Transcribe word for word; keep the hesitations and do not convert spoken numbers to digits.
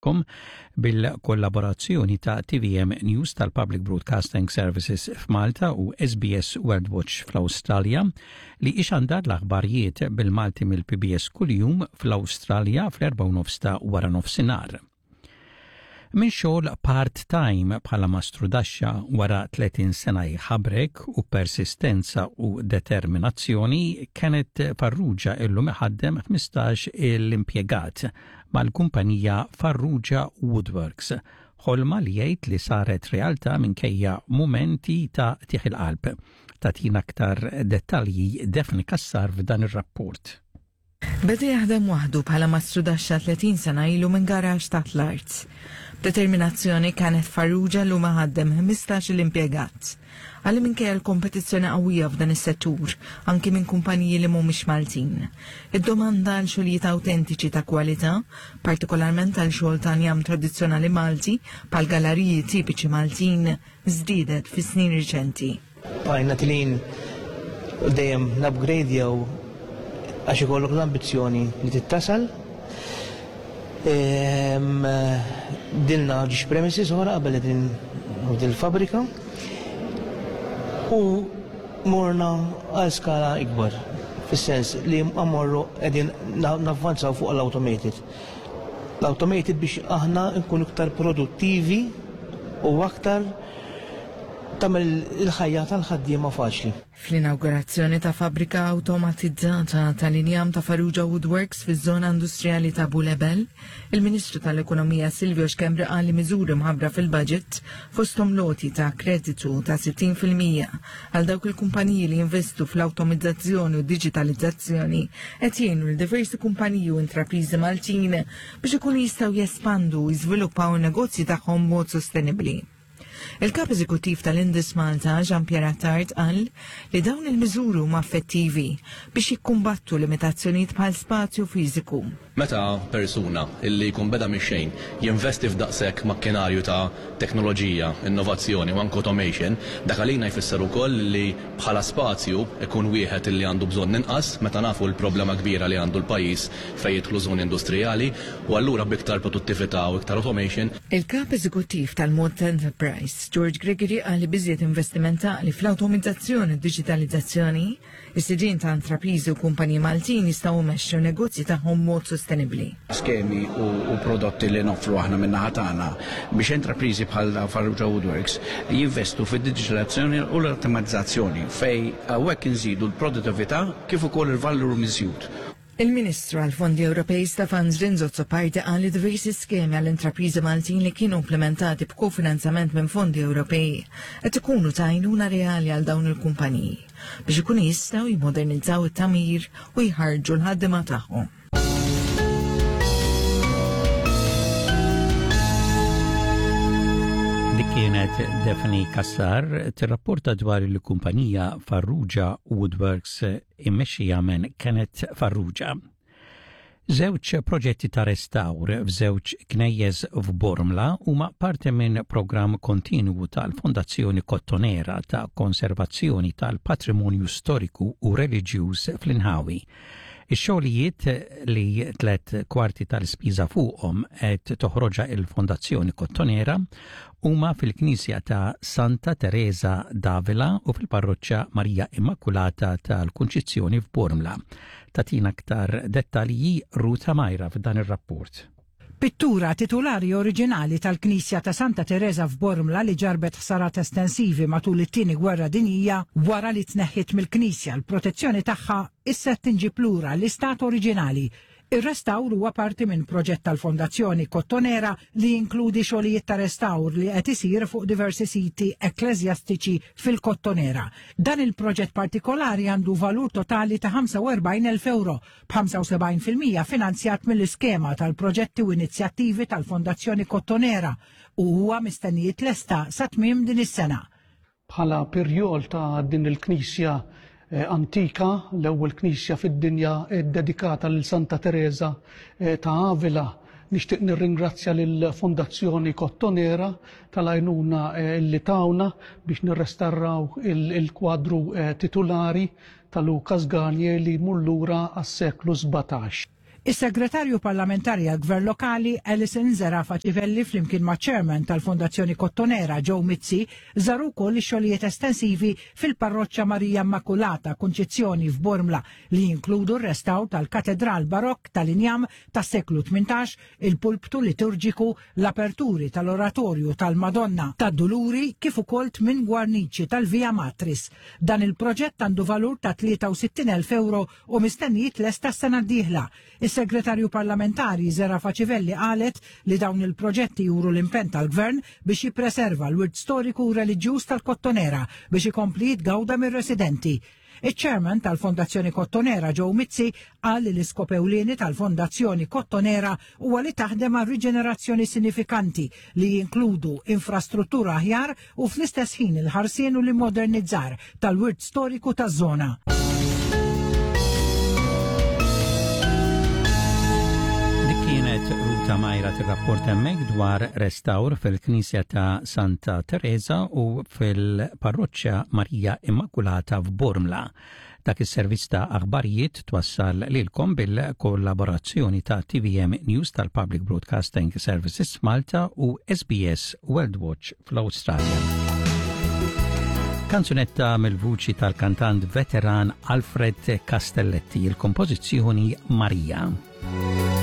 Kom bil-kollaborazzjoni ta' T V M News tal-Public Broadcasting Services f'Malta u S B S World Watch fl-Awstralja, li ixandar l-aħbarijiet bil-Malti mill-P B S kuljum fl-Awstralja fl-erbgħa u nofs ta' wara nofsinhar. Minn xogħol part-time bħala mastrudaxxa, wara tletin sena jħabrek u persistenza u determinazzjoni, Kenneth Farrugia illum iħaddem ħmistax l-impjegat mal-kumpanija Farrugia Woodworks. Ħolma li jgħid li saret realtà minkejja mumenti ta' qtigħ il-qalb. Tagħtina aktar dettalji Daphne Cassar f'dan ir-rapport. Beda jaħdem waħdu bħala mastrudaxxa tletin sena ilu minn garaxx taħt l-art. Determinazzjoni, Kenneth Farrugia llum iħaddem ħmistax l-impjegat. Għalli minkejja l-kompetizzjoni qawwija f'dan is-settur, anki minn kumpaniji li mhumiex Maltin, id-domanda għal xogħlijiet awtentiċi ta' kwalità, partikolarment għal xogħol ta' njam tradizzjonali Malti bħal galeriji tipiċi Maltin, żdiedet fis-snin riċenti. Bqajna telgħin, dejjem n-upgrade jew għax ikollok l-ambizzjoni li tittasal. Bdilna żewġ premises oħra qabel din il-fabrika u morna għal skala ikbar, fis-sens li mmorru qegħdin navvanzaw fuq l-automated. L-automated biex aħna nkunu iktar produttivi u aktar tagħmel il-ħajja tal-ħaddiema faċli. Fl-inaugurazzjoni ta' fabbrika automatizzata tal-injam ta' Farrugia Woodworks fiż-żona industrijali ta' Bulebel, il-Ministru tal-Ekonomija Silvio Schembri qal li miżuri mħabbra fil-budget, fosthom l-għoti ta' kreditu ta' sittin fil-mija għal dawk il-kumpaniji li jinvestu fl-automizzazzjoni u digitalizzazzjoni, qed jgħinu lil diversi kumpaniji u intrapriżi Maltin biex ikunu jistgħu jespandu u jiżviluppaw in-negozji tagħhom b'mod sostenibbli. Il-kap eżekuttiv tal-Indus Malta, Jean-Pierre Attard, qal li dawn il-miżuri huma effettivi biex jikkumbattu limitazzjonijiet bħal spazju fiżiku. Meta persuna illi jkun beda mix-xejn jinvesti f'daqshekk makkinarju ta' teknoloġija, innovazzjoni u anke automation, dak għalina jfisser ukoll li bħala spazju ikun wieħed illi għandu bżonn inqas, meta nafu l-problema kbira li għandu l-pajjiż fejn jidħlu żoni industrijali, u allura b'iktar produttività u iktar automation. Il-kap eżekuttiv tal-Mod Enterprise, George Gregory, qal li b'iżjed investiment li fl-automizzazzjoni u digitalizzazzjoni, is-sidien ta' intrapriżi u kumpaniji Maltin jistgħu jmexxu negozji tagħhom mod sostenibbli. Skemi u, u prodotti li noffru aħna min-naħa tagħna biex intrapriżi bħal Farrugia Woodworks jinvestu fid-digitalizzazzjoni u l-automatizzazzjoni, fejn hawnhekk inżidu l-produttività kif ukoll il-valur miżjud. Il-Ministru għal-Fondi Ewropej Stefan Zrinzo Azzopardi qal li diversi skemi għall-intrapriżi Maltin li kienu implementati b'kofinanzament minn fondi Ewropej qed ikunu ta' għajnuna reali għal dawn il-kumpaniji biex ikunu jistgħu jimodernizzaw it-tagħmir u jħarġu l-ħaddiema tagħhom. Dik kienet Daphne Cassar tirrapporta dwar il-kumpanija Farrugia Woodworks immexxija minn Kenneth Farrugia. Żewġ proġetti ta' restawr f'żewġ knejjes f'Bormla huma parti minn programm kontinwu tal-Fondazzjoni Kottonera ta' konservazzjoni tal-patrimonju storiku u reliġjuż fl-inħawi. Ix-xogħlijiet, li tlet kwarti tal-ispiża fuqhom qed toħroġha il-Fondazzjoni Kottonera, huma fil-Knisja ta' Santa Teresa d'Avila u fil-Parroċċa Marija Immakulata tal-Kunċizzjoni f'Bormla. Tagħtina aktar dettalji Ruta Majra f'dan ir-rapport. Pittura titulari oriġinali tal-Knisja ta' Santa Teresa f'Bormla li ġarbet ħsarat estensivi matul it-tieni gwerra dinjija, wara li tneħħit mill-Knisja l-protezzjoni tagħha, issa tinġib lura l-istat oriġinali. Ir-restawr huwa parti minn proġett tal-Fondazzjoni Kottonera li jinkludi xogħlijiet ta' restawr li qed isir fuq diversi siti ekkleżjastiċi fil-Kottonera. Dan il-proġett partikolari għandu valur totali ta' ħamsa u erbgħin elf euro, b'ħamsa u sebgħin fil-mija finanzjat mill-iskema tal-proġetti u inizjattivi tal-Fondazzjoni Kottonera, u huwa mistenni jitlesta sa tmiem din is-sena. Bħala pirjol ta' din il-knisja eh, antika, l-ewwel knisja fid-dinja dedikata lil Santa Teresa eh, ta' Avila, nixtieq nirringrazzja lill-Fondazzjoni Kottonera tal-għajnuna eh, li tawna biex nirrestawraw il-kwadru titulari ta' Lucas Garnier li jmur lura għas-seklu sbatax. Is-Segretarju Parlamentari għal-Gvern Lokali Alison Zerafa Civelli, flimkien ma' Chairman tal-Fondazzjoni Kottonera Joe Mizzi, żaru wkoll ix-xogħlijiet estensivi fil-Parroċċa Marija Immakulata Kunċizzjoni f'Bormla, li jinkludu r-restawr tal-Katedral Barokk tal-injam tas-seklu tmintax, il-pulptu liturġiku, l-aperturi tal-Oratorju tal-Madonna tad-Duluri, kif ukoll tmien gwarniċi tal-Via Matris. Dan il-proġett għandu valur ta' tlieta u sittin elf euro u mistenni jitlesta s-sena d-dieħla. Is-Segretarju Parlamentari Zerafa Civelli qalet li dawn il-proġetti juru l-impenn tal-Gvern biex jippreserva l-wirt storiku u reliġjuż tal-Kottonera biex ikompli jitgawda mir-residenti. Iċ-chairman tal-Fondazzjoni Kottonera Joe Mizzi qal li l-iskop ewlieni tal-Fondazzjoni Kottonera huwa li taħdem għal riġenerazzjoni sinifikanti li jinkludu infrastruttura aħjar u fl-istess ħin il-ħarsien u l-immodernizzar tal-wirt storiku taż-żona. Dik kienet Ruta Majra tirrapport hemmhekk dwar restawr fil-Knisja ta' Santa Teresa u fil-Parroċċa Marija Immakulata f'Bormla. Dak is-servizz ta' aħbarijiet twassal lilkom bil-kollaborazzjoni ta' T V M News tal-Public Broadcasting Services Malta u S B S World Watch fl-Awstralja. Kanzunetta mill-vuċi tal-kantant veteran Alfred Castelletti, il-kompożizzjoni Maria.